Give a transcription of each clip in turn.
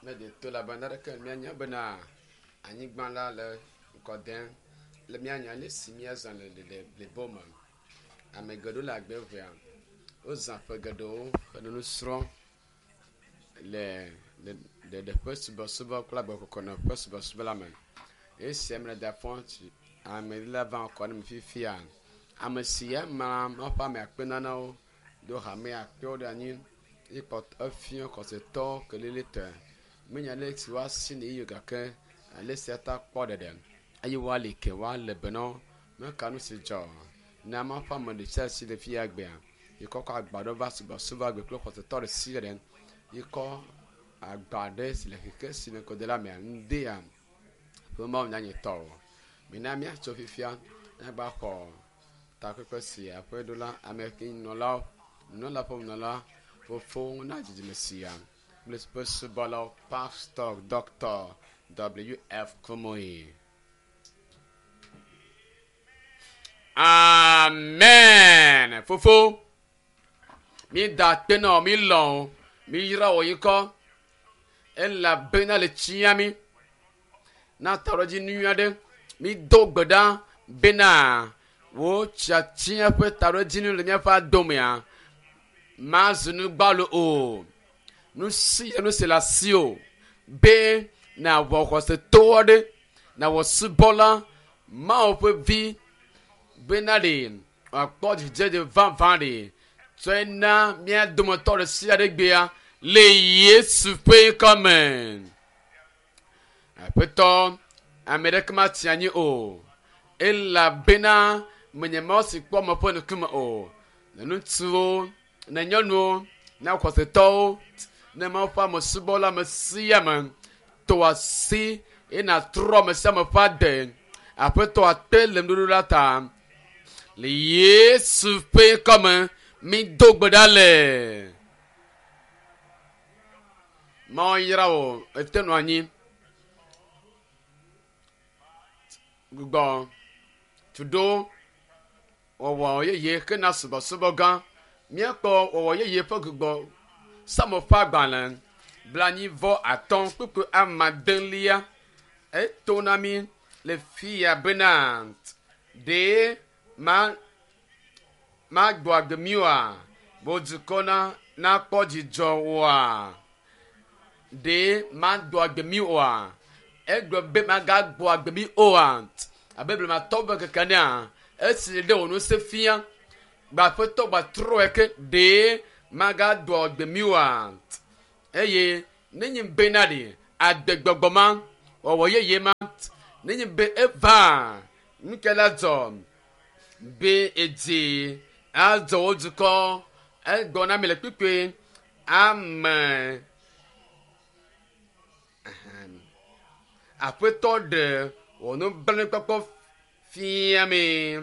Míeɖe to le abe naneke míanya bena anyigba la le ŋkɔ dem le míanya ale si míazã le ɖeɖe blibo me. Ame geɖewo le agbe ŋea, wozã ƒe geɖewo hele nu srɔ̃m le ɖeɖe ƒe subɔsubɔ kple agbekɔkɔnɔ ƒe subɔsubɔ la me. Esia me le fɔ ame la va kɔ ne mi fifia. Ame si ya ma ƒe ame akpe nanewo do hame akpewo ɖe anyi ye kpɔtɔ efia xɔsetɔwo kelilitɔe. Menya ale si woasi ne yi gake ale sia ta kpɔ ɖeɖe eye woali ke woale be na wo. Meka nu si dzɔ na Mawu ƒe ame ɖe sia si le fia gbea yi kɔ kɔ agba ɖe va subɔsubɔ agbe kple xɔsetɔ ɖe sia ɖe yi kɔ agba ɖe si le xexe si me kɔde la mea ŋdea ƒe Mawu nyanyɛtɔ o. Mina míatso fifia míagba xɔ takpekpe sia ƒe ɖola ame ke nɔlawo nunɔla ƒe nunɔla fofowo na dzidzime sia kple ƒe subɔlawo Pastor Dr. W.F. Kumuyi. Amen. Fofo, mi da akpe na wò, mi lɔ̃ wò, mi yra wò ŋkɔ elabena le tsia mi na taɖodzinu nyui aɖe. Mi do gbe ɖa bena wò tiatia ƒe taɖodzinu le míaƒe adomea mazu nu gbalo o. Nu sia nu si le asiwò be nàwɔ xɔsetɔ aɖe, nàwɔ subɔla Mawu ƒe vi bena ɖe wòakpɔ dzidzedze vavã ɖe tsɔe na mía dometɔ ɖe sia ɖe gbea le Yesu ƒe ŋkɔ me. Aƒetɔ, ame ɖeke matsi anyi o, elabena menye Mawu si kpɔ ame ƒe ŋkume o. Ne ŋutsuwo, ne nyɔnuwo, ne xɔsetɔwo, ne Mawu ƒe amesubɔla ame sia ame tɔ asi eye nàtrɔ ame sia ame ƒe ade. Aƒetɔ akpe le nuɖoɖo la ta. Le Yesu ƒe ŋkɔ me, mido gbe ɖa le. Mawu yra wò, ete nɔ anyi. Gbugbɔ tuɖo wɔwɔ yeye hena subɔsubɔ gã. Míakpɔ wɔwɔ yeye ƒe gbugbɔ Psalmo ƒe agbalẽ 95 kpukpui amadelia. Eto na mí le fiya bena ɖe ma magbɔ agbe mí oa? Wò dukɔ na nakpɔ dzidzɔ oa? Ɖe magbɔ agbe mí oa? Egblɔ be magagbɔ agbe mí oa? Abe blematɔwo ƒe ŋkeke enea, esi ɖe wò ŋusẽ fia, gbe aƒetɔ gbatrɔe ke ɖe magagbɔ agbe mí oa? Eye nenye bena ɖe agbegbɔgbɔ ma, wɔwɔ yeye ma, nenye be eva, nu ka la dzɔ? Be edzi adzɔ wò dukɔ. Egblɔ na mi le kpukpui ame Aƒetɔ ɖe wò nublanuikpɔkpɔ fia mi.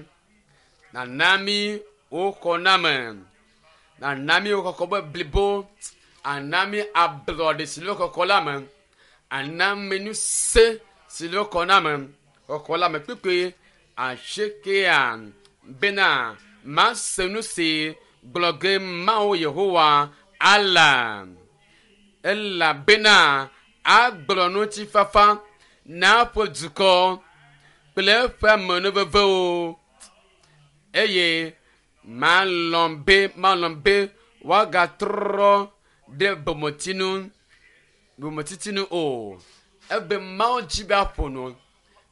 Nana mi wò xɔname. Nana mi wò xɔxɔ be blibo. Ana mi ablɔɖe si le xɔxɔ la me. Ana mi ŋusẽ si le xɔname. Xɔxɔ la me kpukpui asiekɛa bena mase nu si gblɔ ge Mawu Yehowa ala. Elabena agblɔ ŋutifafa na eƒe dukɔ kple eƒe amenuvevewo, eye malɔ̃ be malɔ̃ be woagatrɔ ɖe bometsinu bometsitsi nu o. Ebe Mawu dzi be aƒo nu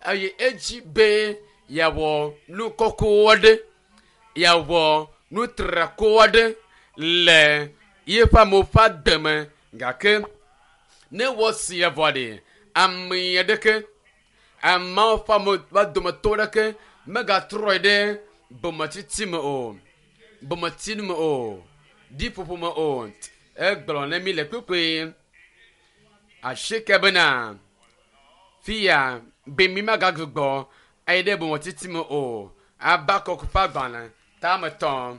eye edzi be yeawɔ nu kɔkɔ aɖe, yeawɔ nu trako aɖe le yeƒe amewo ƒe agbe me. Gake ne ewɔ esia vɔ ɖe, ame aɖeke, ameawo ƒe ame ƒe dometɔ aɖeke megatrɔe ɖe bometsitsi me o, bometsinu me o, ɖiƒoƒo me o. Egblɔ ne mi le kpukpui asieke bena, Fiya be mi magagbugbɔ ayi ɖe bometsitsi me o. Habakuk ƒe agbalẽ tame tɔ̃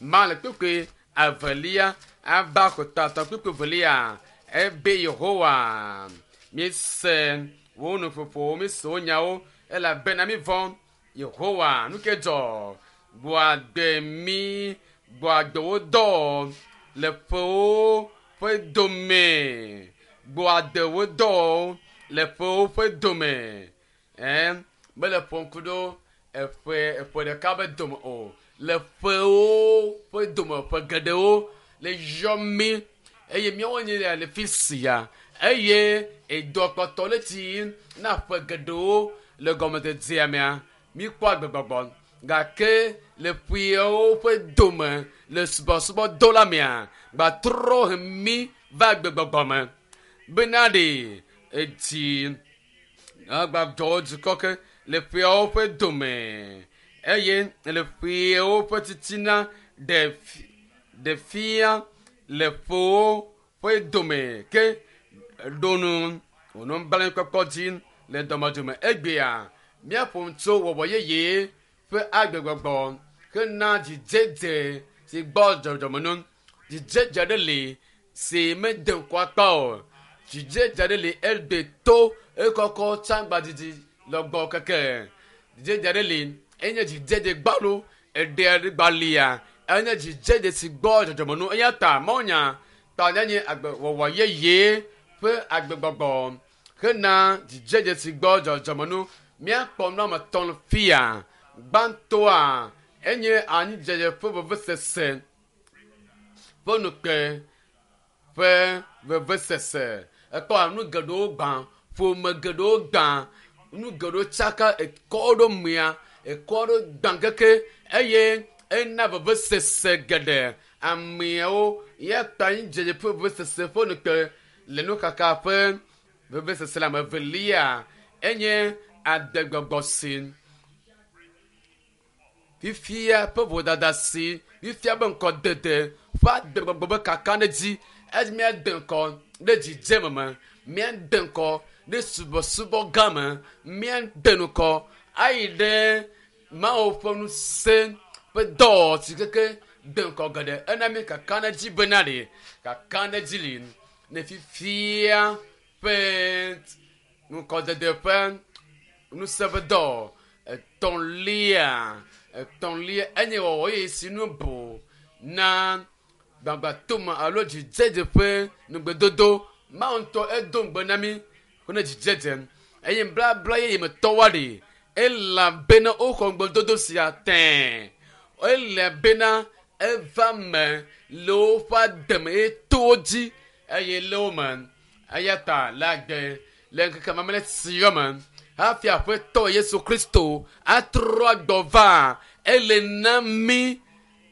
ma le kpukpui evelia, Habakuk ta tɔ̃ kpukpui evelia, ebe Yehowa, míese wò nuƒoƒowo, míese wò nyawo, elabena mívɔ̃ Yehowa. Nu ke dzɔ? Gbɔ agbe mí, gbɔ agbe wo dɔ le ƒewo ƒe dome. Gbɔadewo dɔwɔwo le ƒewo ƒe dome. Ɛ mele ƒom ku ɖo eƒe eƒe ɖeka be dome o. Le ƒewo ƒe dome ƒe geɖewo le yɔ mí eye míawo nye ya le fi sia eye edɔ kpɔtɔ le tsi na ƒe geɖewo le gɔmedzedzea mea míkpɔ agbegbɔgbɔ gake le ƒeawo ƒe dome le subɔsubɔdɔ la mea gbatrɔ he mí va agbegbɔgbɔ me bena ɖe edzi agbadzɔwo dukɔ ke le ƒeawo ƒe dome eye le ƒeawo ƒe titina ɖe fia le ƒewo ƒe dome ke ɖo nu wònɔ dzi le dɔmedome egbea míaƒo nu tso wɔwɔ yeye ƒe agbegbɔgbɔ hena dzidzedze si gbɔ dzɔdzɔme nu. Dzidzedze ɖe li si mede ŋkɔ akpa o. Dzidzedze ɖe li ede to ekɔkɔ tsagbadidi lɔgbɔ keke. Dzidzedze ɖe li enye dzidzedze gbalo eɖe gbalia enye dzidzedze si gbɔ dzɔdzɔme nu eya ta mawunya ta nye agbe wɔwɔ yeye ƒe agbegbɔgbɔ hena dzidzedze si gbɔ dzɔdzɔme nu míakpɔ nu ame tɔn fia gbãtɔa enye anyidzedze ƒe vevesese ƒe nukpe ƒe vevesese ekpɔ nu geɖewo gbã ƒome geɖewo gbã nu geɖewo tsaka ekɔ ɖo mia ekɔ ɖo gbã keke eye ena vevesese geɖe ameawo ya ta anyidzedze ƒe vevesese ƒe nukpe le nukaka ƒe vevesese le ame evelia enye adegbɔgbɔ si fifia ƒe vodada si fifia be ŋkɔdede ƒe adegbɔgbɔ be kaka ɖe dzi esi míade ŋkɔ ɖe dzidzeme me míade ŋkɔ ɖe subɔsubɔ gã me míade ŋkɔ ayi ɖe mawu ƒe ŋusẽ ƒe dɔwɔwɔ si keke de ŋkɔ geɖe ena mí kaka ɖe dzi bena ɖe kaka ɖe dzi li ne fifia ƒe ŋkɔdede ƒe ŋusẽ ƒe dɔ etɔ̃lia etɔ̃lia enye wɔwɔ eye si nu bu na gbagbatome alo dzidzedze ƒe nugbedodo mawu ŋutɔ edo ŋugbe na mí ne dzidzedze eye blabla yeye me tɔwoa ɖe elabena woxɔ ŋugbedodo sia tɛ̃ elabena eva me le woƒe ademe eye to wo dzi eye le wo me eya ta le agbe le ŋkeke mamlɛ sia me hafi aƒetɔ yesu kristo atrɔ agbɔ va ele na mí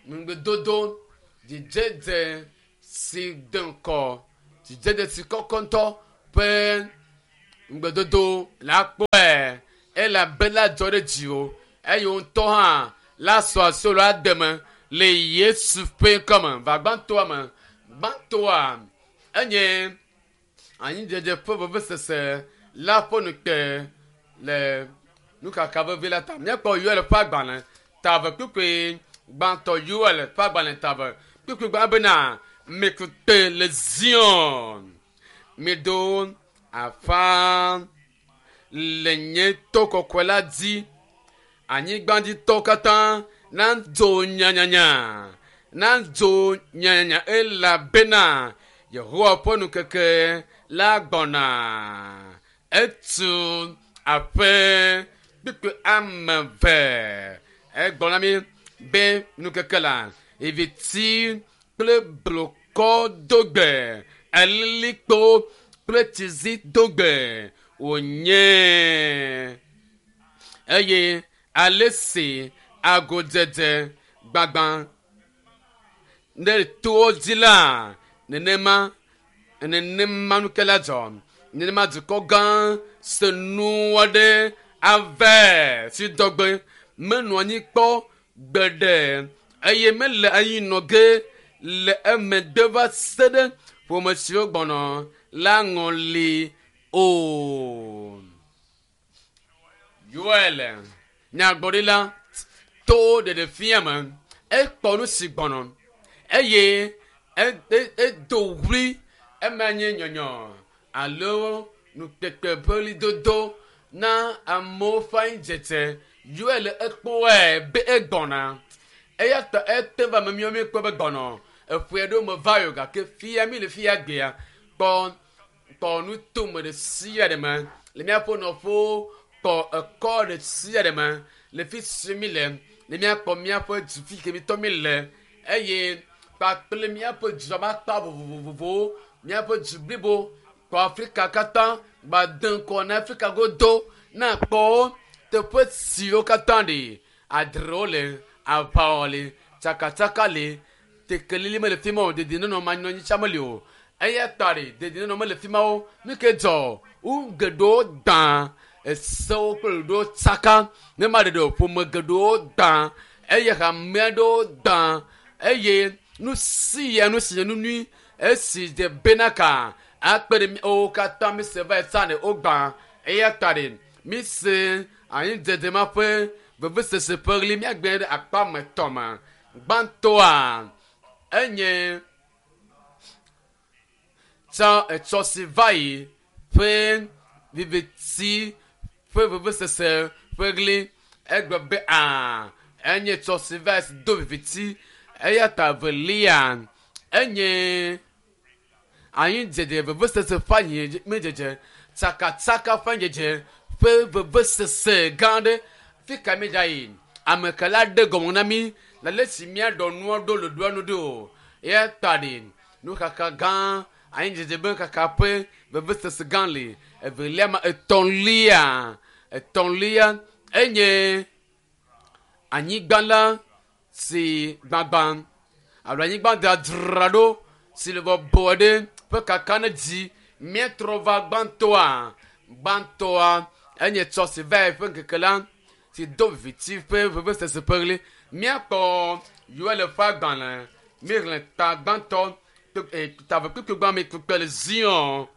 ŋugbedodo dzidzedze si de ŋkɔ dzidzedze si kɔkɔ ŋutɔ ƒe ŋugbedodo la kpɔe elabena dzɔ ɖe dziwò eye wo ŋutɔ hã la sɔ asi wò le ademe le yesu ƒe ŋkɔme va gbãtɔa me gbãtɔa enye anyidzedze ƒe vevesese la ƒe nukpe le nukaka vevi la ta míakpɔ yoel ƒe agbalẽ tave kpukpui gbãtɔ yoel ƒe agbalẽ tave kpukpui gbã bena mikute le zion miɖo afa le nye to kɔkɔe la dzi anyigbadzitɔwo katã nadzo nyanyanya nadzo nyanyanya elabena yehowa ƒe nukeke la gbɔna etu aƒe kpukpui ame eve egblɔ na mi be nukeke la eviti kple blokɔ dogbe alilikpo kple tsizi dogbe wònye eye ale si agodzedze gbagba ɖe towo dzi la nenema nenema nuke la dzɔ nenema dukɔ gã se nu aɖe ave si dɔgbe menɔ anyi kpɔ gbeɖe eye mele anyi nɔ ge le emegbe va se ɖe ƒome siwo gbɔnɔ la ŋɔli o. Yoel nyagblɔɖila to ɖeɖefia me ekpɔ nu si gbɔnɔ eye edo ɣli ema nye nyɔnyɔ alo nukpekpe ƒe ɣlidodo na amewo ƒe anyidzedze Yoel ekpɔe be egbɔna eya ta ete va ame miwo míekpɔ be gbɔnɔ eƒe aɖewo me va yio gake fia mi le fia gbea kpɔ Kpɔ nutome ɖe sia ɖe me le míaƒe nɔƒewo, kpɔ ekɔ ɖe sia ɖe me le fi si mi le, ne míakpɔ míaƒe du fi ke mitɔ mi le eye kpakple míaƒe dua ƒe akpa vovovowo, míaƒe du blibo kpɔ Afrika katã gbade ŋkɔ na Afrika godo ne akpɔ teƒe siwo katã ɖe adrewo le, aʋawɔ le, tsakatsaka le, tekelili mele fi ma o, dedienɔnɔ manɔanyi meli o. Eya ta ɖe dedienɔnɔ mele fi ma o. Nu ke dzɔ wo geɖewo gbã esewo kple ɖoɖowo tsaka ne ma ɖeɖe o ƒome geɖewo gbã eye hame aɖewo gbã eye nu sia nu si nye nu nyui esi dze bena ka akpe ɖe míawo katã mi se va yi tsã ɖe wogbã eya ta ɖe mi se anyidzedze ma ƒe vevesese ƒe ɣli míagbe ɖe akpa me tɔ me. Gbãtɔa enye tsã etsɔ si va yi ƒe viviti ƒe vevesese ƒe ɣli egblɔ be aa enye tsɔ si va yi do viviti eya ta evelia enye anyidzedze vevesese ƒe anyidzedze tsakatsaka ƒe anyidzedze ƒe vevesese gã aɖe fi ka mi dza yi ame ke la ɖe gɔme na mi le ale si míaɖɔ nua ɖo le ɖoa nu ɖo o eya ta ɖe nuxaxa gã anyidzedze be kaka ƒe vevesese gã le evelia ma etɔ̃lia etɔ̃lia enye anyigba la si gbagba alo anyigba dzadzra ɖo si le bɔbɔ ɖe ƒe kaka ne dzi míetrɔ va gbãtɔa gbãtɔa enye tsɔ si va yi ƒe ŋkeke la si do viviti ƒe vevesese ƒe ɣli míakpɔ Yoel ƒe agbalẽ míexlẽ ta gbãtɔ tave kpukpui gbã mi kpukpui le Zion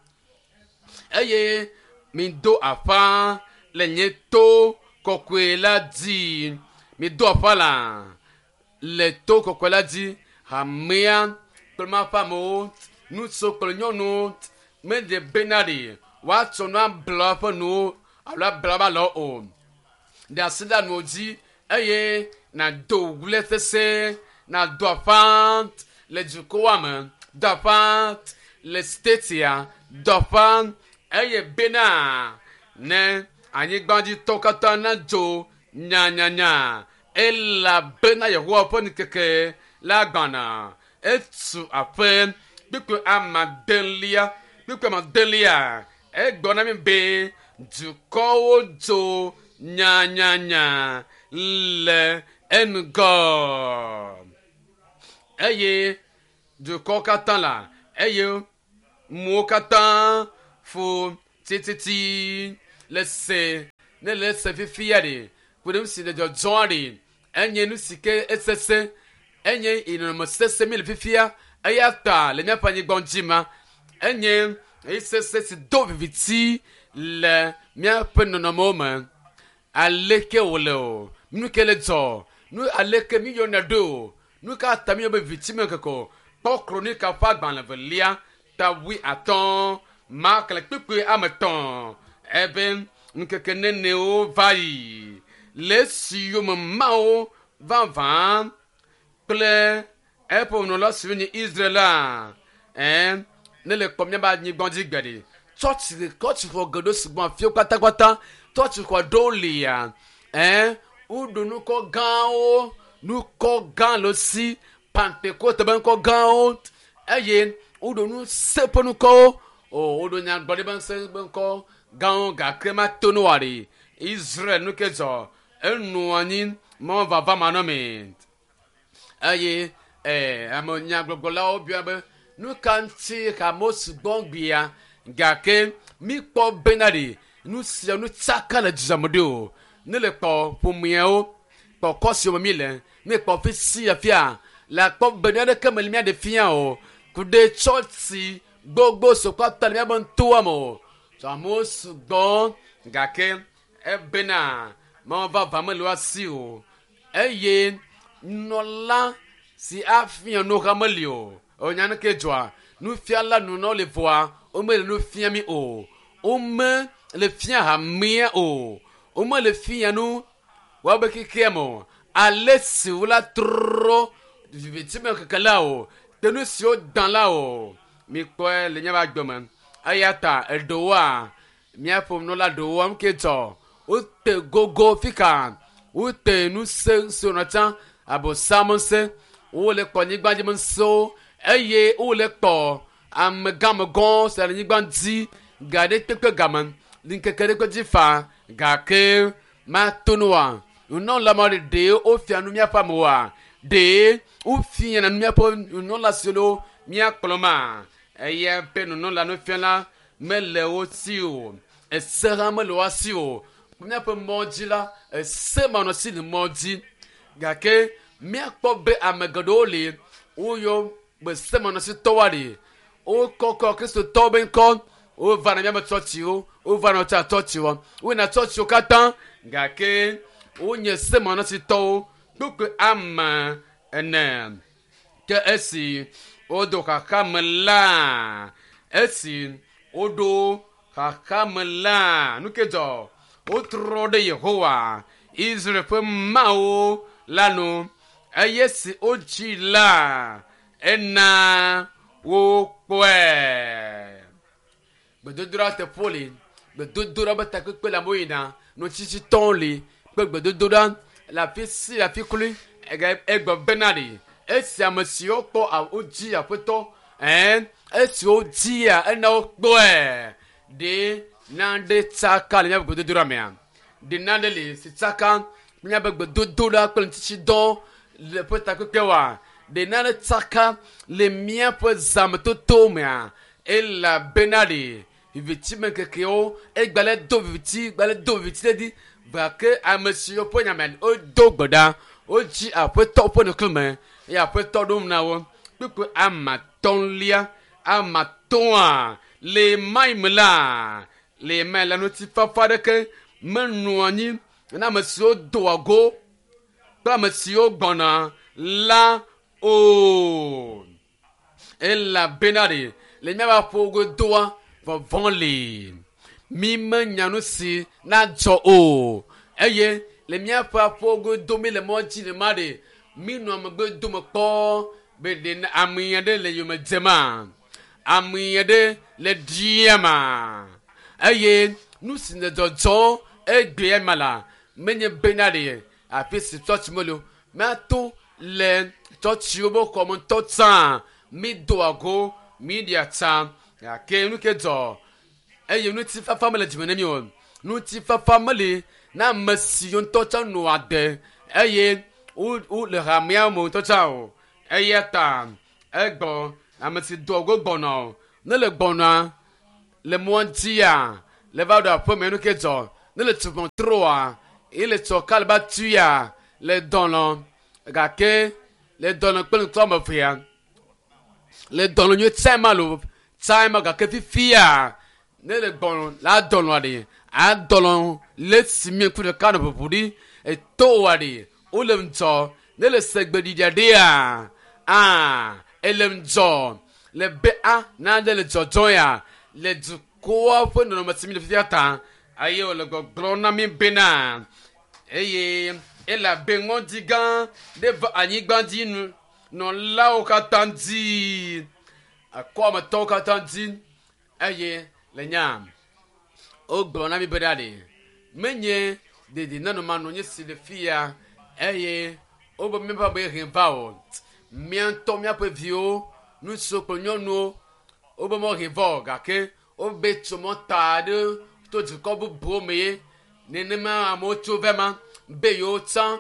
eye mido aƒa le nye to kɔkɔe la dzi mido aƒa la le to kɔkɔe la dzi hamea kple maƒe amewo ŋutsu kple nyɔnuwo medze bena ɖe woatsɔ nu abla woƒe nuwo alo abla woƒe alɔ o ɖe asi ɖe anuwo dzi eye nàdo ɣli sesẽ nàdo aƒa le dukɔa me do aƒa le statia do aƒa eye bena ne anyigbadzitɔwo katã nadzo nyanyanya elabena Yehowa ƒe ŋkeke la gbɔna etu aƒe kpukpui amadelia kpukpui amadelia egblɔ na mi be dukɔwo dzo nyanyanya le eŋgɔ eye dukɔwo katã la eye muwo katã ƒo tititi le se ne le se fifia ɖe ku ɖe nu si le dzɔdzɔa ɖe enye nu si ke esese enye nɔnɔme sese mi le fifia eya ta le míaƒe anyigba dzi ma enye esese si do viviti le míaƒe nɔnɔmewo me aleke wòle o nu ke le dzɔ nu aleke mi yɔna ɖo o nu ka ta mi yɔ be viviti me keke o kpɔ kronika ƒe agbalẽ velia ta wui atɔ̃ makle kpukpui ame tɔ̃ ebe ŋkeke nenewo va yi le esi yome mawo vavã kple eƒe nunɔla siwo nye Israel la ɛn ne le kpɔ míaƒe anyigba dzi gbe ɖe tsɔtsi tsɔtsixɔ geɖewo sugbɔ afiwo kpatakpata tsɔtsixɔ ɖewo lia ɛn woɖo nukɔ gãwo nukɔ gã le si pantekote be ŋkɔ gãwo eye woɖo nu se ƒe nukɔwo o woɖo nyagblɔɖi be ŋusẽ be ŋkɔ gãwo gake mato no wa ɖe Israel nu ke dzɔ enu anyi mɔ vava manɔmee eye ee ame nyagbɔgblɔlawo bia be nu ka ŋuti hamewo sugbɔ gbea gake mikpɔ bena ɖe nu sia nu tsaka le dzidzɔme ɖo o ne le kpɔ ƒomeawo kpɔ kɔ siwo me mi le ne kpɔ fi sia fia le akpɔ be nu aɖeke mele mía ɖe fia o ku ɖe tsɔtsi gbogbo sokɔ ta le míabe ŋtoa me o tso amewo sugbɔ gake ebena mɔ vava mele wo asi o eye nunɔla si afia nu hã meli o enya nu ke dzɔa nufiala nunɔ le vɔa womele nu fia mi o wome le fia hamea o womele fia nu woabe xexea me o ale si wola trɔ viviti me keke la o te nu siwo dã la o mikpɔe le míaƒe agbe me. Eya ta eɖewoa, míaƒe nunɔla ɖewoa, nu ke dzɔ, wote gogo fika, wote ŋusẽ si wonɔ tsã, abosam ŋusẽ, wole kpɔ anyigba dzi ŋusẽwo eye wole kpɔ amegãmegãwo si le anyigba dzi ga ɖe kpekpe game ŋkeke ɖe kpe dzi fa gake mato nu wa. Nunɔla ma ɖe ɖe wofia nu míaƒe amewoa? Ɖe wofia nu míaƒe nunɔla siwo míakplɔ ma? Eya ƒe nunɔla nufiala mele wo si o, ese hã mele wo si o. Míaƒe mɔ dzi la, ese manɔsi le mɔ dzi gake míakpɔ be ame geɖewo li woyɔ be semanɔsitɔwoa ɖi wokɔkɔ kristotɔwo be ŋkɔ wova na míaƒe tsɔtsiwo wova na tsa tsɔtsiwo woyina tsɔtsiwo katã gake wonye semanɔsitɔwo kpukpui ame ene. Ke esi wodo xaxa me la, esi woɖo xaxa me la, nu ke dzɔ? Wotrɔ ɖe Yehowa, Israel ƒe Mawu la nu eye si wodzi la, ena wokpɔe. Gbedodoɖa teƒewo li, gbedodoɖa be takpekpe le amewo yina, nutsitsitɔwo li kple gbedodoɖa le afi si afi kloe. Egblɔ bena ɖi esi ame siwo kpɔ wodzi aƒetɔ ɛn esi wodzia ena wokpɔe ɖe nane tsaka le míaƒe gbedodoɖa mea? Ɖe nane li si tsaka míaƒe gbedodoɖa kple nutsitsidɔ le ƒe takpekpewoa? Ɖe nane tsaka le míaƒe zãmetoto mea? Elabena ɖe viviti me ŋkekewo egbalẽ do viviti gbalẽ do viviti ɖe dzi gake ame siwo ƒe nyame wodo gbe ɖa wodzi aƒetɔ ƒe ŋkume eye aƒetɔ ɖom na wo. Kpukpui ame atɔ̃lia ame atɔ̃a le mai me la le mai la ŋutifafa aɖeke menɔa anyi na ame siwo doa go kple ame siwo gbɔna la o. Elabena ɖe le míaƒe aƒewo godoa vɔvɔ̃ li. Mi menya nu si nadzɔ o eye le míaƒe aƒewo godo mi le mɔ dzi le ma ɖe mi nɔ megbe dome kpɔ be ɖe ame aɖe le yome dzema, ame aɖe le ɖiama eye nu si le dzɔdzɔ egbea ma la menye bena ɖe afi si tsɔtsi mele o míato le tsɔtsiwo be xɔme ŋutɔ tsã mi doa go mi ɖia tsa gake nu ke dzɔ eye ŋutifafa mele dzime na mi o. Ŋutifafa meli na ame siwo ŋutɔ tsã nɔa de eye wo le hamea me ŋutɔ tsã o. Eya ta egbɔ ame si doa go gbɔna o ne le gbɔna le mɔa dzia le va ɖo aƒeme nu ke dzɔ ne le tu ʋɔtrua ye le tsɔ ka le ba tuya le dɔnɔ gake le dɔnɔ kple ŋutɔ ame evea le dɔnɔ nyuie tsa ma lo tsa ma gake fifia ne le gbɔnɔ la dɔnɔa ɖe adɔnɔ le si mi ŋku ɖeka nɔ ʋuʋu ɖi etoa ɖe wole ŋdzɔ ne le segbeɖiɖi aɖea aa ele ŋdzɔ le be a nane le dzɔdzɔ ya le dukɔa ƒe nɔnɔme si mi le fifia ta eye wòle gbɔgblɔm na mi bena eye elabe ŋɔdzi gã ɖe va anyigba dzi nɔlawo katã dzi akɔametɔwo katã dzi eye le nya wogblɔ na mi bena ɖe menye dedinɔnɔmanɔ nye si le fia eye wobe míaƒe abe he va o mía ŋutɔ míaƒe viwo ŋutsuwo kple nyɔnuwo wobe mɔ he va o gake wobe tso mɔ ta ɖe to dukɔ bubuwo me ye nenema amewo tso va ma be yewo tsã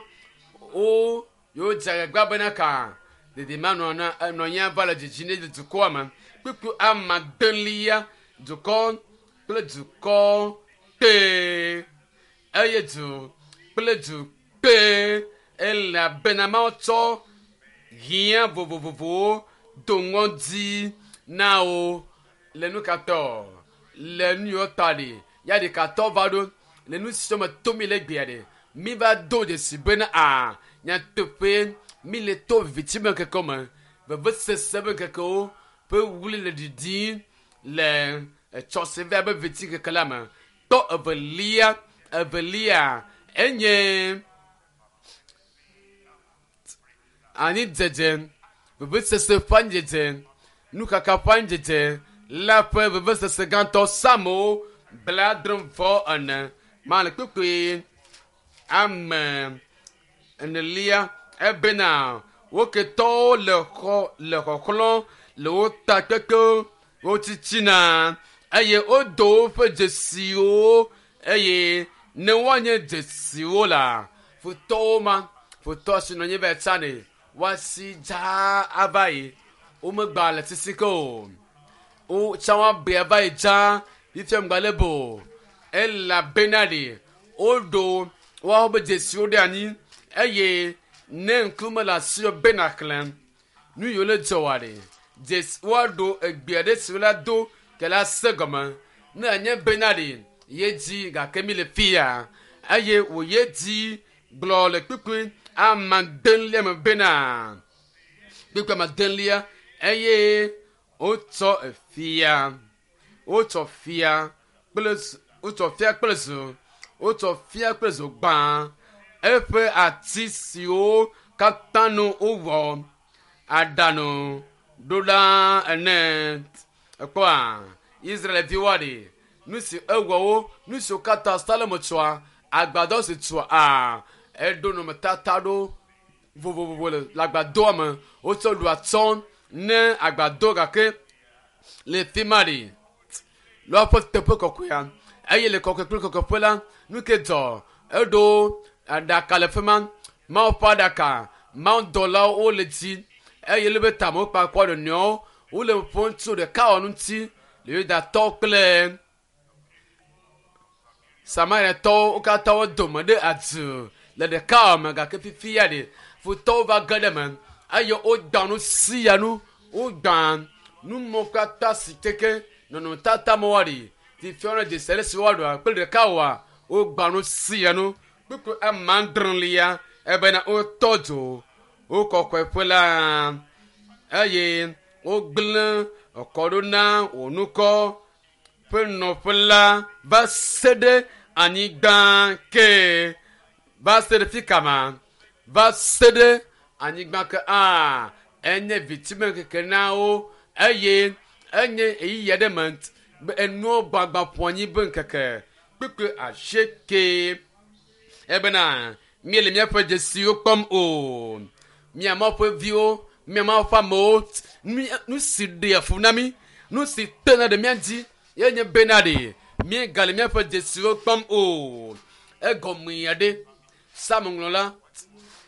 wo yewo dze agbagba bena ka dedimanɔ na nɔ anyi va le dzidzim ɖe dukɔa me. Kpukpui ame adelia dukɔ kple dukɔ kpe eye du kple du kpe elabena Mawu tsɔ hiã vovovovowo do ŋɔdzi na wo le nu ka tɔ le nu yiwo ta ɖi ya ɖeka tɔ va ɖo le nu siwo me tom mi le gbea ɖe mi va do dzesi bena a nyateƒe mi le to viviti be ŋkekewo me vevesese be ŋkekewo ƒe wli le ɖiɖim le etsɔ si va be viviti ŋkeke la me. Tɔ evelia evelia enye anyidzedze vevesese ƒe anyidzedze nukaka ƒe anyidzedze la ƒe vevesese gãtɔ Psalmo 74 male kpukpui ame enelia ebena wo ketɔwo le xɔ le xɔxlɔ̃ le wo ta kpekpewo wo titina eye wodo woƒe dzesiwo eye ne woanye dzesiwo la futɔwo ma futɔ si nɔ anyi va yi tsã ɖe woasi dzaa ava yi womegba le sisi ke o wo tsã woabea va yi dzaa fifia ŋgba le bo elabena ɖe woɖo woawo be dzesiwo ɖe anyi eye ne ŋkume le asiwò be nàxlẽ nu yiwo le dzɔ wòa ɖe dzesi woaɖo egbe aɖe si wola do ke la se gɔme ne enye bena ɖe ye dzi gake mi le fia eye wòye dzi gblɔ le kpukpui amadelia me bena kpukpui amadelia eye wotsɔ fia wotsɔ fia kple wotsɔ fia kple zo wotsɔ fia kple zo gbã eƒe ati siwo katã nu wowɔ aɖanu ɖo ɖa ene ekpɔa Israelviwoa ɖe nu si ewɔ wo nu siwo katã Salomo tsɔa agbadɔ si tsɔa a eɖo nɔnɔmetata ɖo vovovovo le agbadɔa me wotsɔ ɖu atsɔ ne agbadɔ gake le fi ma ɖe le woƒe teƒe kɔkɔea eye le kɔkɔe kple kɔkɔeƒe la nu ke dzɔ eɖo aɖaka le fi ma Mawu ƒe aɖaka Mawu dɔlawo wole dzi eye le be tame wokpa kɔ ɖe nɔewo wole ƒom tso ɖekawɔnu ŋuti le Yudatɔwo kple Samariatɔwo wo katã wo dome ɖe adu le ɖekawɔme me gake fifia ɖe futɔwo va ge ɖe eme eye wogbã nu sia nu wogbã numɔ katã si keke nɔnɔmetata me woaɖi fifia wole dzesi ale si woaɖua kple ɖekawɔa wogbã nu sia nu kpukpui amadrelia ebena wotɔ dzo wo kɔkɔeƒe la eye wogblẽ kɔ ɖo na wò nukɔ ƒe nɔƒe la va se ɖe anyigba ke va se ɖe fi kama va se ɖe anyigba ke a enye vitime keke na wo eye enye ɣeyiɣi aɖe me be enuwo gbagba ƒu anyi be ŋkeke kpukpui asieke ebena míele míaƒe dzesiwo kpɔm o mía Mawu ƒe viwo mía Mawu ƒe amewo nu si ɖea fu na mí nu si tena ɖe mía dzi ye nye bena ɖe míegale míaƒe dzesiwo kpɔm o egɔme aɖe Psalm ŋlɔla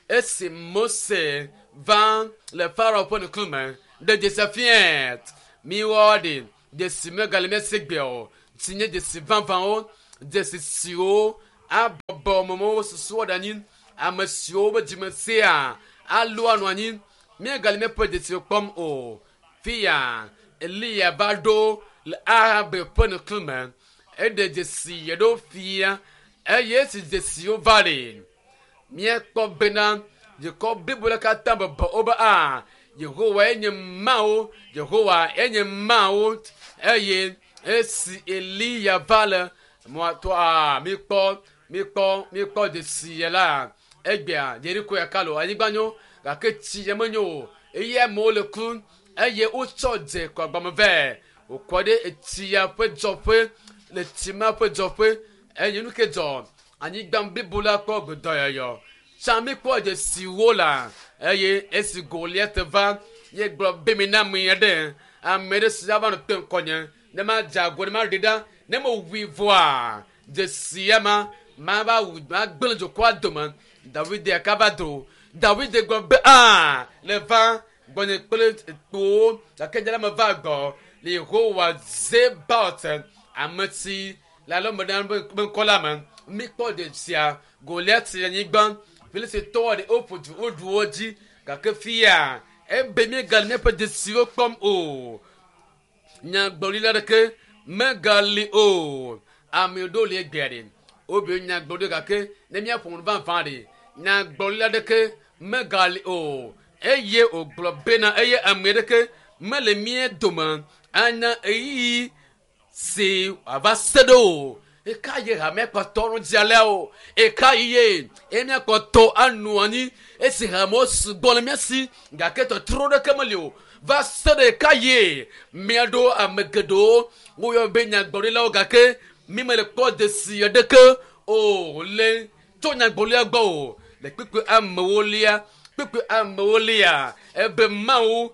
esi Mose va le Farao ƒe ŋkume ɖe dzesi fiɛ miwɔ ɖe dzesi megale mía si gbea o si nye dzesi vavãwo dzesi siwo abɔbɔ amewo susuwo ɖe anyi ame siwo be dzime sea alo anɔ anyi míegale míaƒe dzesiwo kpɔm o fia Eliya va ɖo le Ahab ƒe ŋkume eɖe dzesi ɖewo fia eye esi dzesiwo va ɖe míekpɔ bena dukɔ blibo la katã bɔbɔ wobe a Yehowa enye Mawu Yehowa enye Mawu eye esi Eliya va le mɔatɔ a míkpɔ míkpɔ míkpɔ dzesi ya la egbea Yeriko ya kalo anyigba nyo gake tsi ya menyo o eye amewo le ku eye wotsɔ dze kɔ agbame vɛ wòkɔ ɖe etsi ya ƒe dzɔƒe le tsi ma ƒe dzɔƒe eye nu ke dzɔ anyigba blibo la kpɔ gbedɔyɔyɔ tsã míkpɔ dzesiwo la eye esi Goliat va ye gblɔ be mi na ame aɖe ame ɖe si ava nɔ te ŋkɔnye ne madze ago ne maɖi ɖa ne mewui vɔa dzesi ya ma mava wu magblẽ dukɔa dome David ya kava do David gblɔ be a le va gbɔnye kple kpowo gake nye la meva gbɔ le Yehowa Zebaot ame si le alɔme ɖe be ŋkɔ la me míkpɔ dzesia Goliat le anyigba Filistitɔwo ɖe woƒo du woɖu wo dzi gake fia ebe míegale míaƒe dzesiwo kpɔm o nyagblɔɖila ɖeke megali o ame ɖewo li egbea ɖe wobe nyagblɔɖi gake ne míaƒo nu vavã ɖe nyagblɔɖila ɖeke megali o eye wògblɔ bena eye ame ɖeke mele mía dome anya ɣeyiɣi si wòava se ɖo o eka ye hamea kpɔtɔ nu dzi alea o eka ye eye míakpɔtɔ anɔ anyi esi hamewo sugbɔ le mía si gake tɔtrɔ ɖeke meli o Va se ɖe ka ye miaɖo ame geɖewo woyɔ be nyagblɔɖilawo gake mi mele kpɔ dzesi aɖeke o le tso nyagblɔɖia gbɔ o. Le kpekpe amewo lia kpekpe amewo lia ebe Mawu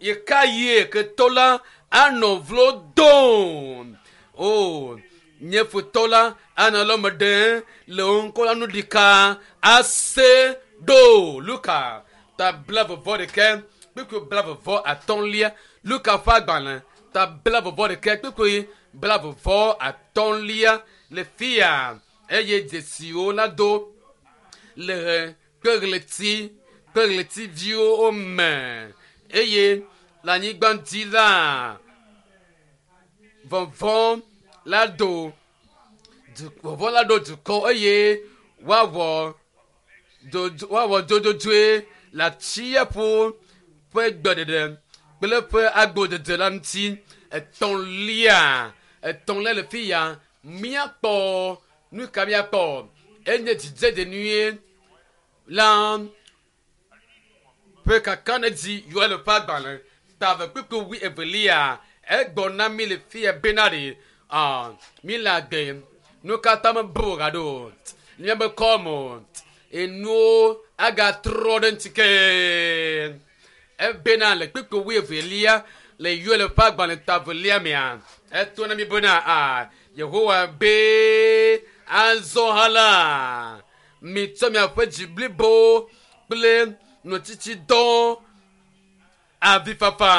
yeka ye ketɔ la anɔ vlo dom o nye futɔ la anɔ lɔme ɖem le wo ŋkɔ la nu ɖika ase ɖo. Luka ta 41 kpekpe 33. Luka ƒe agbalẽ ta 41 kpekpe 33 le fia eye dzesiwo la do le kpe ɣleti kpe ɣletiviwo me eye le anyigba dzi la vɔvɔ̃ la do vɔvɔ̃ la ɖo dukɔ eye woawɔ dzodzodzoe le atsiaƒu ƒe gbeɖeɖe kple ƒe agbodede la ŋuti. Etɔ̃lia le fi ya míakpɔ nu ka míakpɔ enye dzidzedze nyuie la ƒe kakanedzi Yoel ƒe agbalẽ ta 2 kpukpui 22 egbɔ na mi le fi ya bena ɖe mi le agbe nu katã mebu gaɖo míabe kɔme o enuwo agatrɔ ɖe ŋuti ke ebena le kpukpui 22 le Yoel ƒe agbalẽ ta 2 mea eto na mi bena Yehowa be azɔ hã la mitsɔ miaƒe dzi blibo kple nutsitsidɔ avifafa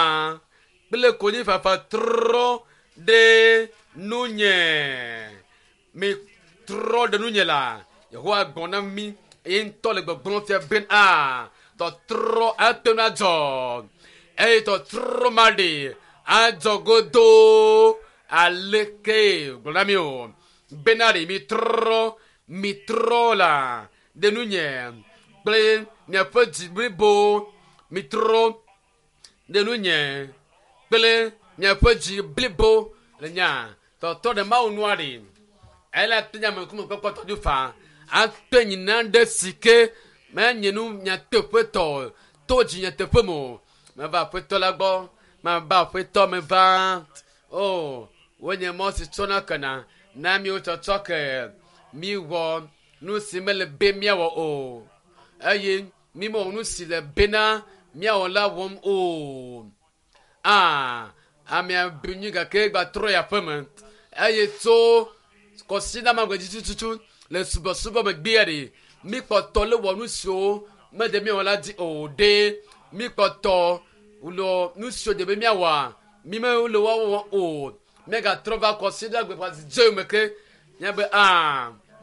kple konyifafa trɔ ɖe nunye mi trɔ ɖe nunye la Yehowa gbɔ na mi eye ŋutɔ le gbɔgblɔm fia be tɔtrɔ ate ŋu adzɔ eye tɔtrɔ ma ɖe adzɔ godoo aleke gblɔ na mi o bena ɖe mi trɔ la ɖe nunye kple miaƒe dzi blibo mi trɔ ɖe nunye kple miaƒe dzi blibo le nya tɔtrɔ ɖe Mawu nua ɖe ele te nya me kume kpɔkpɔ tɔdu fa ate nyina ɖe si ke menye nu nyateƒetɔ to dzi nyateƒe me o. Meva aƒetɔ la gbɔ mava aƒetɔ meva o wonye mɔ si tsɔna kena na miwo tsɔtsɔ ke miwɔ nu si mele be miawɔ o eye mi mewɔ nu si le bena miawɔ la wɔm o. Amea bu nyui gake gbatrɔ yi aƒeme eye tso kɔsiɖa dzi tututu le subɔsubɔ megbea ɖe mi kpɔtɔ le wɔ nu siwo mede miawɔ la dzi o ɖe mi kpɔtɔ le nu siwo de be miawɔa mi mele wɔwɔ o miagatrɔ va kɔsiɖa gbe ƒe dze me ke miabe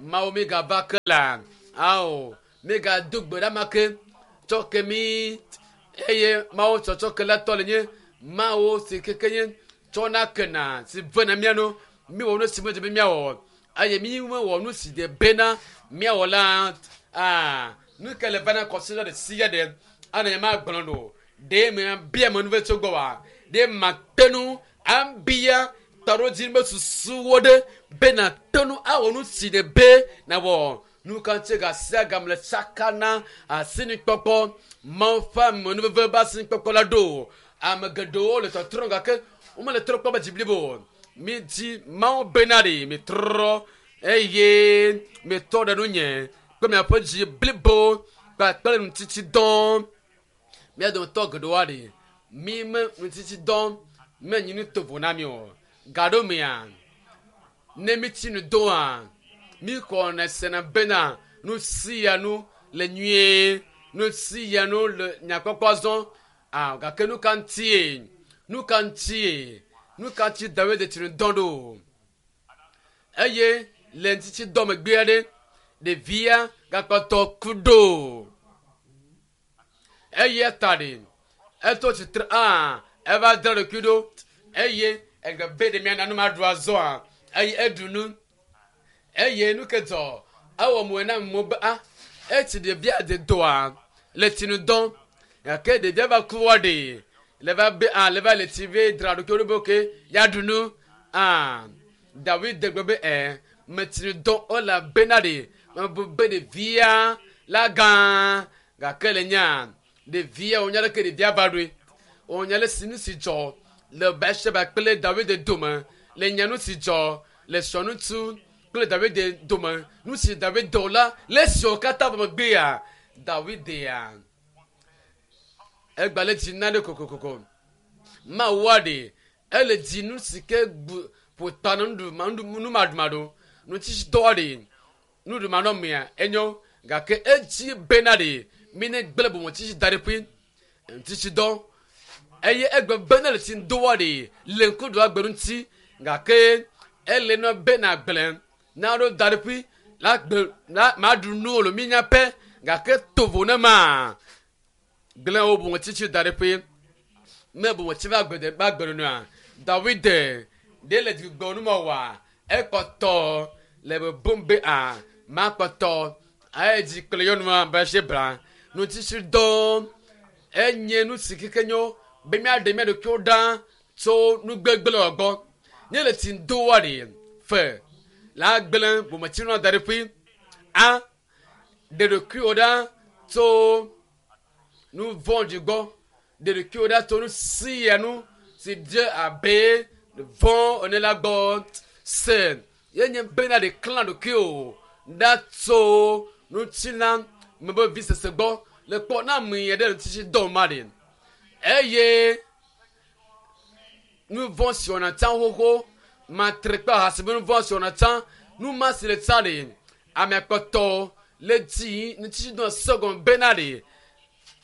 Mawu migava ke la ao migado gbe ɖa ma ke tsɔ ke mi eye Mawu tsɔtsɔ ke la tɔ le nye Mawu si keke nye tsɔna kena si vena mía nu miwɔ nu si medze be miawɔ eye mi mewɔ nu si de bena miawɔ la nu ke le vana kɔsiɖa ɖe sia ɖe ana nye ma gblɔ ɖo ɖe me bia me nu ve tso gbɔ wa ɖe ma te nu abia taɖodzi be susuwo ɖe bena te nu awɔ nu si de be nawɔ nu ka ŋuti gasia game le tsaka na asinikpɔkpɔ Mawu ƒe amenuveve be asinikpɔkpɔ la ɖo ame geɖewo le tɔtrɔm gake womele trɔ kpɔ be dzi blibo mi dzi Mawu bena ɖe mi trɔ eye mi tɔ ɖe nunye kple miaƒe dzi blibo kpakple nutsitsidɔ mía dometɔ geɖewoa ɖe mi me nutsitsidɔ menyi nu tovo na mi o gaɖo mea ne mi tsi nu doa mi xɔna sena bena nu sia nu le nyuie nu sia nu le nyakpɔkpɔ zɔ gake nu ka ŋutie nu ka ŋutie nu ka ŋuti Dawid tsi nu dɔ ɖo eye le ŋutitsidɔ megbea ɖe ɖevia gakpɔtɔ ku ɖo eye ta ɖe eto tsitre eva dra ɖokui ɖo eye egbe be ɖe miana nu ma ɖu azɔa eye eɖu nu eye nu ke dzɔ ewɔ mo na mo be etsi ɖevia de doa le tsinu dɔm gake ɖevia va ku wɔ ɖe le va be le va le tsi ve dra ɖokui ɖo be oke ya ɖu nu Dawid gblɔ be metsinu dɔm elabena ɖe mebu be ɖevia la gã gake le nya ɖevia wonya ɖeke ɖevia va ɖoe. Wònya le si nu si dzɔ le Batseba kple David dome, le nya nu si dzɔ le srɔ̃ŋutsu kple David dome, nu si David wɔ la, le esiawo katã vɔ megbea, Davidea egba le dzi na ɖe kokokoko. Mawua ɖe ele dzi nu si ke gbu ƒo ta na nuɖu numaɖumaɖu, nutsitsidɔ ɖe nuɖumanɔmea enyo gake edzi bena ɖe mi ne gblẽ bometsitsi da ɖe ƒui ŋutitsidɔ eye egbe bena le tsi doa ɖe le ŋkuɖu agbe ŋuti gake ele nɔ bena gblẽ na ɖo da ɖe ƒui la gbe la maɖu nu lo mi nya pɛ gake tovo ne ma gblẽ wo bometsitsi da ɖe ƒui ne bometsi va gbe va gbe nua David ɖe le dzigbɔ numɔwɔa ekpɔtɔ le bebom be a makpɔtɔ aye dzi kple nyɔnua Batseba nutsitsidɔ enye nu si keke nyo be míaɖe mía ɖokuiwo ɖa tso nugbegblẽ gbɔ ne le tsi doa ɖe fe la gblẽ bometsinua da ɖe ƒui a ɖe ɖokuiwo ɖa tso nu vɔ̃ɖi gbɔ ɖe ɖokuiwo ɖa tso nu sia nu si dze abe vɔ̃ ene la gbɔ se yenye bena ɖe klã ɖokuiwo ɖa tso ŋutilã me be visese gbɔ le kpɔ na ame ɖe ŋutitsi dɔ ma ɖe eye nu vɔ̃ si wɔna tsã xoxo matre kple ahasi be nu vɔ̃ si wɔna tsã nu ma si le tsã ɖe ame kpɔtɔ le dzi ŋutitsi dɔ sɔgɔm bena ɖe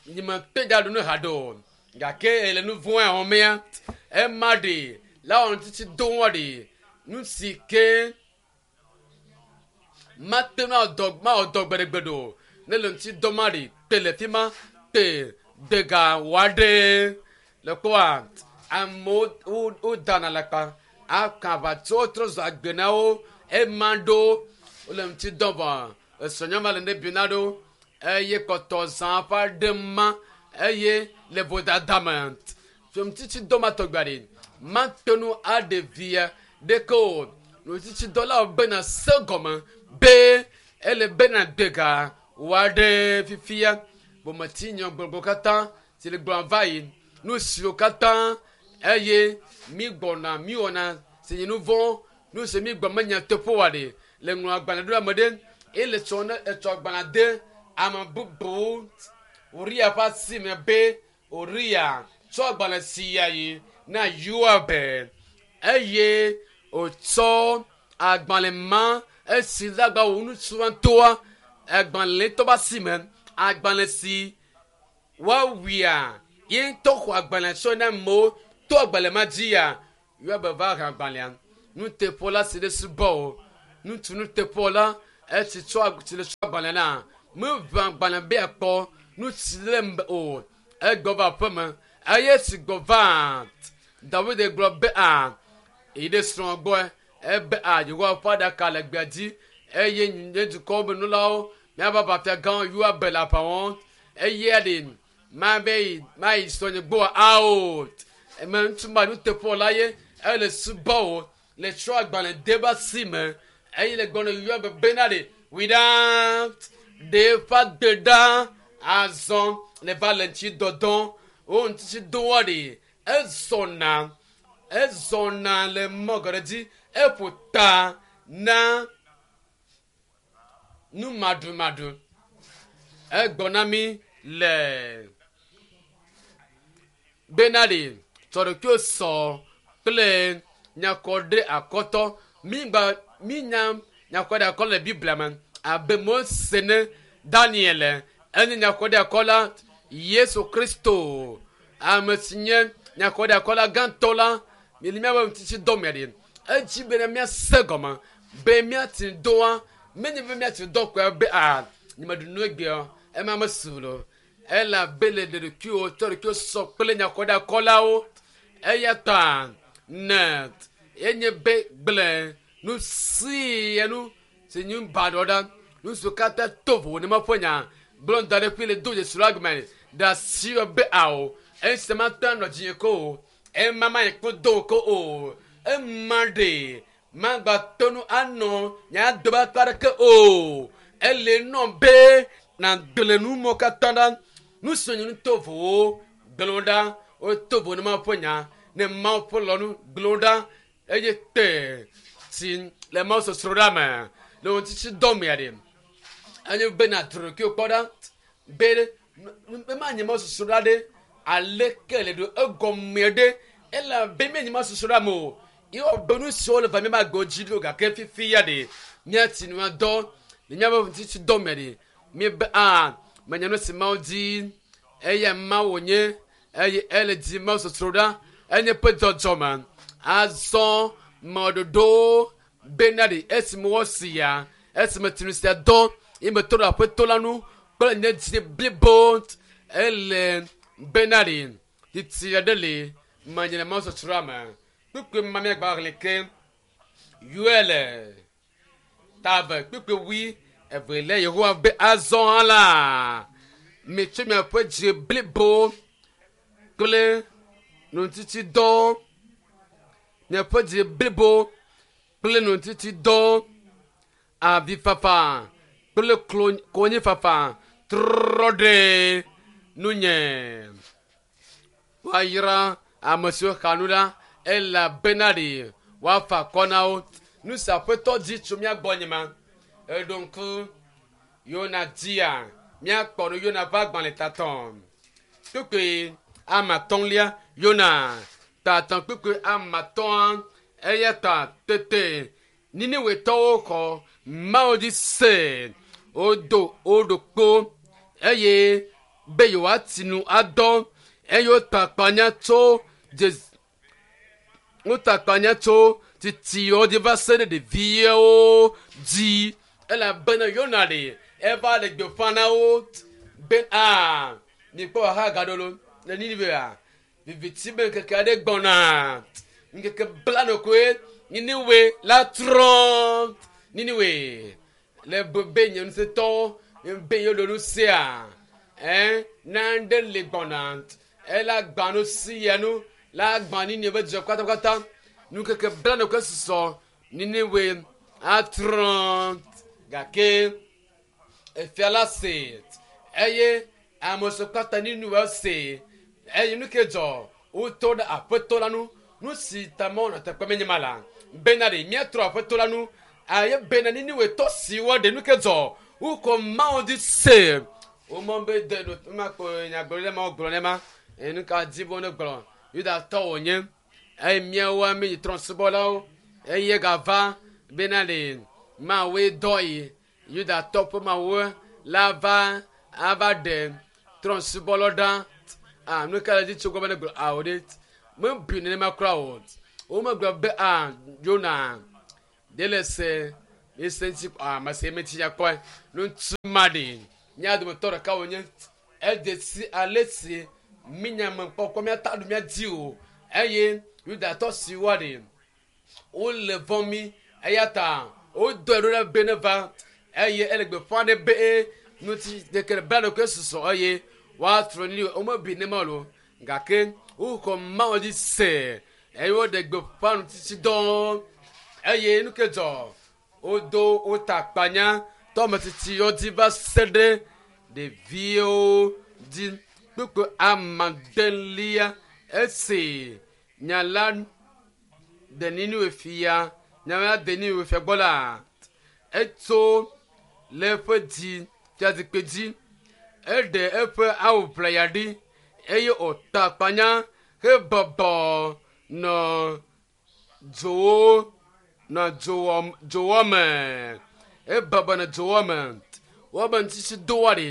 nyime kpe da ɖu nu haɖe o gake ele nu vɔ̃ ya wɔmea ema ɖe la wɔ ŋutitsi do wɔ ɖe nu si ke mate ŋu adɔ mawɔ dɔ gbeɖegbe o ne le ŋuti dɔ ma ɖe te le fi ma te dega wɔ ɖe le kpɔa amewo wo wodana le kpa aka aʋatso trɔ zɔ agbe na wo ema ɖo wole ŋuti dɔ vɔ esrɔ̃nyɔma le ne bina ɖo eye kpɔtɔ zã ƒe aɖe ma eye le vodada me ŋutitsi dɔ ma tɔgbe ɖe mate ŋu aɖe via ɖeke o ŋutitsidɔlawo bena se gɔme be ele bena dega wɔ ɖe fifia bometi nyɔgbɔgbɔ katã si le gblɔm va yi nu siwo katã eye mi gbɔna mi wɔna si nye nu vɔ̃ nu si mi gbɔ menya teƒe wa ɖe le ŋlɔ agbalẽ ɖo ame ɖe ele tsɔ ne etsɔ agbalẽ de ame bubu Uria ƒe asi me be Uria tsɔ agbalẽ sia yi na Yoab eye wòtsɔ agbalẽ ma esi dagba wò ŋutsua ŋutɔa agbalẽ tɔ be asi me agbalẽ si woawuia ye ŋutɔ xɔ agbalẽ tsɔ na amewo to agbalẽ ma dzia Yoab va he agbalẽa nuteƒewɔla si ɖe subɔ o ŋutsu nuteƒewɔla esi tsɔ si le tsɔ agbalẽ na meʋã agbalẽ be akpɔ nu si le me o egbɔ va aƒeme eye si gbɔ va David gblɔ be a yi ɖe srɔ̃a gbɔ ebe a Yehowa ƒe aɖaka le gbea dzi eye nye dukɔwo be nulawo míaƒe aʋafia gãwo Yoab le aʋa wɔm eye ɖe mabe yi mayi srɔ̃nye gbɔ ao eme ŋutsu ma nuteƒewɔla ye ele subɔ wo le tsɔ agbalẽ de be asi me eye le gbɔ na Yoab bena ɖe wui ɖa ɖe eƒe agbe ɖa azɔ le va le ŋuti dɔdɔ wo ŋutitsi doa ɖe ezɔna ezɔna le mɔ geɖe dzi eƒo ta na numaɖumaɖu egbɔ na mi le bena ɖe tsɔ ɖokuiwo sɔ kple nyakɔ ɖe akɔtɔ mi gba mi nya nyakɔ ɖe akɔ le Biblia me abe Mose ne Daniel enye nyakɔ ɖe akɔla Yesu Kristo ame si nye nyakɔ ɖe akɔla gãtɔ la mi le míaƒe ŋutitsi dɔ me ɖe edzi bena míase gɔme be míati doa menye be míati dɔ koe be a nyemeɖu nu egbea ema mesu lo elabe le ɖe ɖokuiwo tsɔ ɖokuiwo sɔ kple nyakɔɖakɔlawo eya ta ne enye be gblẽ nu sia nu si nye baɖɔ ɖa nu siwo katã to vovo ne meƒe nya gblɔ da ɖe ƒui le do dzesi la gɔme ɖe asi be ao esi ma te anɔ dzinye ko o ema ma yi kpo do ko o ema ɖe magba to nu anɔ nya do be akpa ɖeke o ele nɔ be na gblẽ nu mɔ katã ɖa nu si nye nu to vowo gblẽ wo ɖa Woto vo ne Mawu ƒe nya, ne Mawu ƒe lɔlɔ̃nu gblẽ wo ɖa eye te si le Mawu sɔsrɔ̃ ɖa me le wo ŋuti dɔ mea ɖe. Enye be nàdro ɖokuiwò kpɔ ɖa be be manye Mawu sɔsrɔ̃ ɖa ɖe aleke le ɖo egɔmea ɖe elabe míenye Mawu sɔsrɔ̃ ɖa me o. Ye wɔ be nu siwo le va míaƒe agbewo dzi ɖo gake fifi ya ɖe míatsi nua dɔ le míaƒe ŋutiti dɔ me ɖe míebe a menya nu si Mawu di eya Mawu wònye eye ele di Mawu sɔsrɔ̃ ɖa enye ƒe dzɔdzɔme azɔ mɔɖoɖo bena ɖe esime wosi ya esime tinu sia dɔ ye metɔ ɖe aƒetɔ la nu kple nye dzi blibo ele bena ɖe titi aɖe le menye le Mawu sɔsrɔ̃a me. Kpukpui ma míagba xlẽ ke Yoel ta eve kpukpui wui evelia Yehowa be azɔ hã la mitsɔ miaƒe dzi blibo kple nutitidɔ miaƒe dzi blibo kple nutitidɔ avifafa kple konyifafa trɔ ɖe nunye. Woayra ame siwo xa nu la elabena ɖe woafa akɔ na wo. Nu si aƒetɔ di tso mía gbɔ nye ma. Eɖo ŋku Yona dzia míakpɔ nu Yona ƒe agbalẽ tatɔ. Kpukpui ame atɔ̃lia Yona tatɔ kpukpui ame atɔ̃a eya ta tete Niniwetɔwo xɔ Mawu dzi se wodo wo ɖokpo eye be yewoati nu adɔ eye wota akpanya tso wota akpanya tso titiwo dzi va se ɖe ɖeviwo dzi elabena Yona ɖe eva le gbeƒã na wo be a mikpɔ xaxa gaɖo lo le Niniwea viviti be ŋkeke aɖe gbɔna ŋkeke blane koe Niniwe la trɔ Niniwe le be nye ŋusẽtɔwo be yewo ɖo nu sia ɛ nane le gbɔna ela gbã nu si ya nu la gbã Niniwe be dua katãkatã ŋkeke blane koe susɔ Niniwe atrɔ gake efia la se eye ame siwo katã Niniwe se eye nu ke dzɔ wotɔ ɖe aƒetɔ la nu nu si ta mɔ nɔ teƒe menye ma la bena ɖe míatrɔ aƒetɔ la nu eye bena Niniwetɔ siwo ɖe nu ke dzɔ wokɔ Mawu dzi se womɔ be de ɖo makpɔ nyagblɔɖi ɖe ma wogblɔ ne ma eye nu ka di be wone gblɔ Yudatɔ wònye eye míawoa míenye trɔ̃subɔlawo eye gava bena ɖe Mawue dɔ yi Yudatɔ ƒe Mawu la va ava ɖe trɔ̃subɔlawo ɖa. A nu ka le dzi tso gbɔ be ne gblɔ ao ɖe mebui nenema kura o. Womegblɔ be a Yona ɖe le se ese ŋuti a mese meti ya kpɔe. Ŋutsu ma ɖe mía dometɔ ɖeka wònye edze si ale si mínya me kpɔkpɔ míata ɖu mía dzi o eye Yudatɔ siwo ɖe wole vɔ̃ mí eya ta wodɔe ɖo ɖe be ne va eye ele gbeƒã ɖe be ŋuti ɖeke bla ɖokui susɔ eye woatrɔ ni womebui ne ma o gake woxɔ Mawu dzi se eye woɖe gbeƒã ŋutitsidɔ eye nu ke dzɔ wodo wota akpanya tɔmetitiwo dzi va se ɖe ɖeviwo dzi kpukpu amadelia esi nya la de Niniwe fia nya la de Niniwe fia gbɔ la etso le eƒe dzi fiazikpui dzi eɖe eƒe awu ʋlaya ɖi eye wòta akpanya hebɔbɔ nɔ dzowo nɔ dzowɔ dzowɔ me ebɔbɔ nɔ dzowɔ me wobe ŋutiti doa ɖi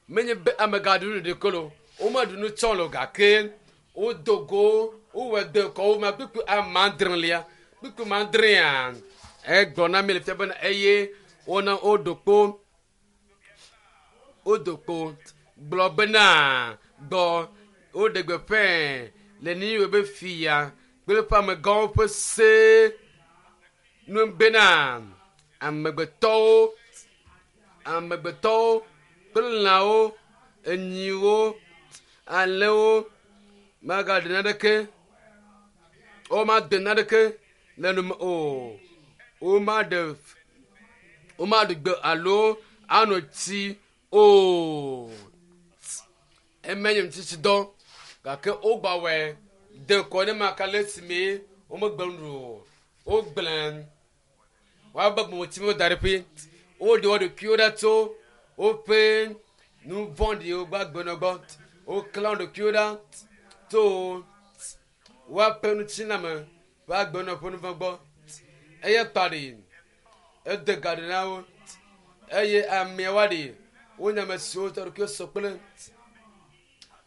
menye be amegaɖu nu ɖeke lo womeɖu nu tsɔ lo gake wodo go wowɔ de kɔ wo ma kpukpu ame adrelia kpukpu ma adrea egblɔ na mi le fia bena eye wona woɖo kpo wodo kpo gblɔ bena gbɔ woɖe gbeƒãe le Niniwe be fia kple eƒe amegãwo ƒe se nu bena amegbetɔwo amegbetɔwo kple lãwo enyiwo alẽwo magaɖe naneke womade naneke le nu me o womaɖe womaɖu gbe alo ano tsi o emenye ŋutitsidɔ Gake wogbawɔe de ŋkɔ ne ma ka le esime womegbe nu o. Wogblẽ woabe gbɔmɔtiwo da ɖe ƒe. Woɖe wo ɖokuiwo ɖa tso woƒe nu vɔ̃ɖiwo ƒe agbenɔnɔ gbɔ. Woklã wo ɖokuiwo ɖa tso woaƒe ŋutilãme ƒe agbenɔnɔ ƒe nu vɔ̃ gbɔ. Eya ta ɖi ede ga ɖi na wo eye ameawoa ɖi wonye ame siwo tɔ ɖokuiwo sɔ kple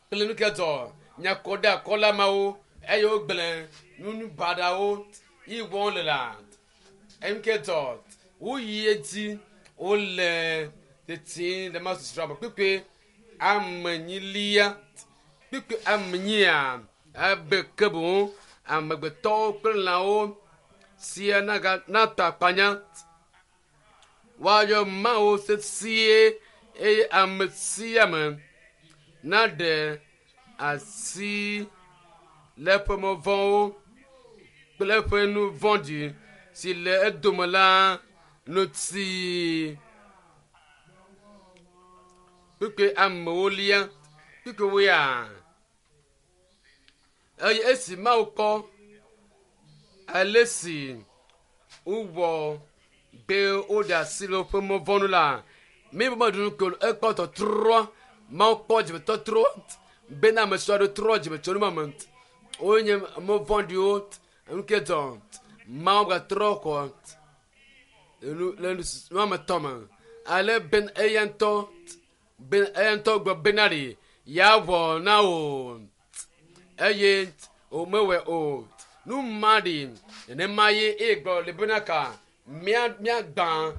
kple nu ke dzɔ nyakɔɖeakɔla mawo eye wogblẽ nu baɖawo yi wɔm le la enu ke dzɔ woyi edzi wole tete le ma susua me kpekpe amenyilia kpekpe amenyia ebe ke boŋ amegbetɔwo kple lãwo sia naga nata akpanya woayɔ Mawu sesie eye ame sia ame naɖe asi le eƒe mɔ vɔ̃wo kple eƒe nu vɔ̃ɖi si le edome la ŋuti. Kpukpui amewo lia kpukpui woya. Eye esi Mawu kpɔ ale si wowɔ be woɖe asi le woƒe mɔ vɔ̃ nu la, mi be meɖu nu ko ekpɔ tɔtrɔ Mawu kpɔ dzimetɔtrɔ bena ame siwo aɖewo trɔ dzime tso nu ma me. Wonye ame vɔ̃ɖiwo nu ke dzɔ Mawu gatrɔ kɔ nu le nu ame tɔ me ale be eya ŋutɔ be eya ŋutɔ gblɔ bena ɖi yeawɔ na wò eye wòmewɔe o. Nu ma ɖi nenema ye eye gblɔ le bena ka mía míagbã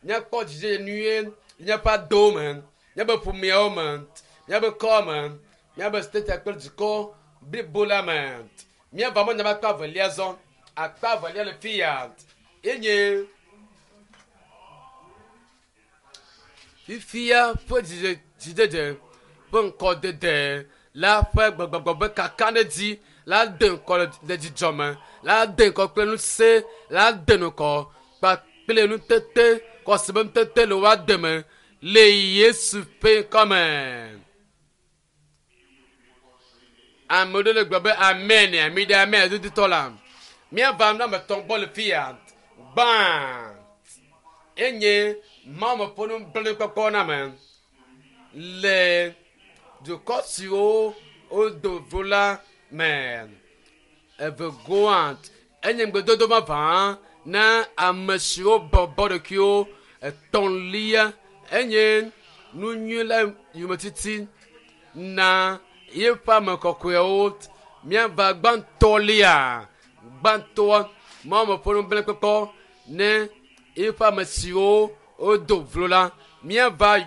míakpɔ dzidzedze nyuie le míaƒe adowo me, míaƒe ƒomeawo me, míaƒe kɔa me, míaƒe statia kple dukɔ blibo la me. Míava mɔ nya akpa evelia zɔ. Akpa evelia le fi ya enye fifia ƒe dzidzedze ƒe ŋkɔdede la ƒe gbegbɔgblɔ be kakaɖedzi la de ŋkɔ le dzidzɔ me la de ŋkɔ kple ŋusẽ la de ŋkɔ kpakple nutete xɔse be nutete le woa deme le Yesu ƒe ŋkɔ me. Ame ɖewo le gblɔ be amen, mi ɖe amen dudutɔ la. Míava nu ame etɔ̃ gbɔ le fi ya. Gbã enye Mawu me ƒe nublanuikpɔkpɔ na ame le dukɔ siwo wodo vo la me. Evegoa enye ŋugbedodo vavã na ame siwo bɔbɔ ɖokuiwo. Etɔ̃lia enye nu nyui la yometiti na yeƒe ame kɔkɔewo. Míava gbãtɔlia gbãtɔa Mawu me ƒe nublanuikpɔkpɔ ne yeƒe ame siwo wodo vlo la míava.